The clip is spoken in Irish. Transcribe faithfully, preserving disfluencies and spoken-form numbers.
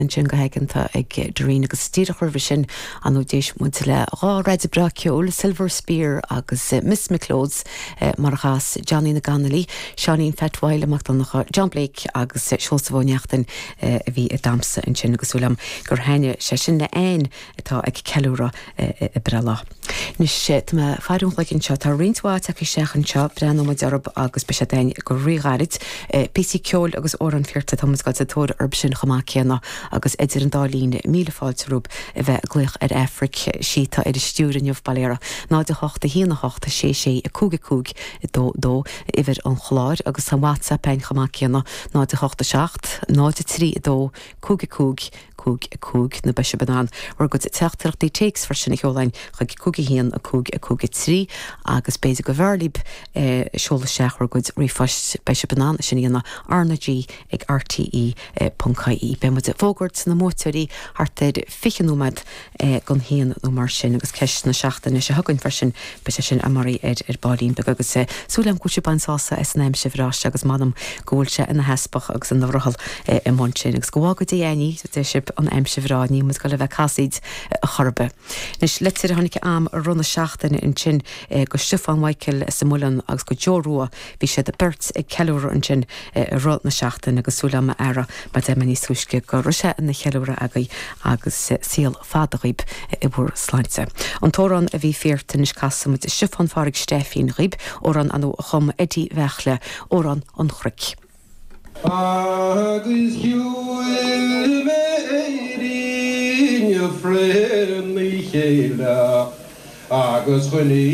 Ansin go haigeanta ag Doreen agus díreach roimhe sin an d'éist muid le dhá rud breá ceoil Silver Spear agus Miss McLeod's mar a chas Johnny na gConnolly, Seáinín Phat Mhaidhc Mac Donncha, John Blake agus Seosamh Ó Neachtain a bhí ag damhsa ansin agus súil agam gur thaitin sé sin le Ann atá ag ceiliúradh a breithlá. Anois tá mé ag faire an chloig anseo tá roinnt mhaith tagtha isteach anseo breathnóidh muid orthu agus beidh sé againn go ríghairid. Píosaí ceoil agus amhráin fíorta tá muid ag dul sa tóir orthu sin chomh maith céanna agus idir an dá linn míle fáilte romhaibh a bheith ag glaoch ar Aifric sí atá ar an stiúir inniu bail uirthi náid a hocht a haon a hocht sé sé a cúig a cúig a dó dó uimhir an chláir agus tá WhatsApp againn chomh maith céanna náid a hocht a seacht náid a trí a dó cúig a cúig cúig a cúig nó beidh sibh in ann bhur gcuid teachtaireachtaí téacs freisin a sheoladh chuig cúig a haon a cúig a cúig a trí agus b'fhéidir go mb'fhearr libh seoladh isteach bhur gcuid ríomhphoist beidh sibh in ann sin a dhéanamh RnaG ag RTE ponc ie. Beidh muid ag fógairt na mbuaiteoirí thart ar fiche nóiméad don haon nó mar sin agus ceist na seachtaine seo chugainn freisin beidh sé sin amárach ar ar baillín beag agus súil agam go bhfuil sibh ag baint sásamh as an aimsir bhreá seo agus m'anam go bhfuil sé ina theaspach agus ina bhrothall i mbun sin agus go bhfága Dé againn í sibh an aimsir bhreá níl muid ag dul a bheith casaoid chor ar bith. Anois litir a tháinig agam i rith na seachtaine ansin go Stiofán Michael sa Muileann agus go Joe Rua bhí siad beirt ag ceiliúradh ansin i rith na seachtaine agus súil agam a fheara mar deir mé níos túisce go raibh sé ina cheiliúradh agaibh agus saol fada dhaoibh i bhur sláinte. An t-amhrán a bhí fíorta anois casfaidh muid Stiofán Phádraig Stefín dhaoibh amhrán a chum Eddie Bheachle amhrán an chnoic. Agus shiúil mé Éirinn frína chéile agus choinnigh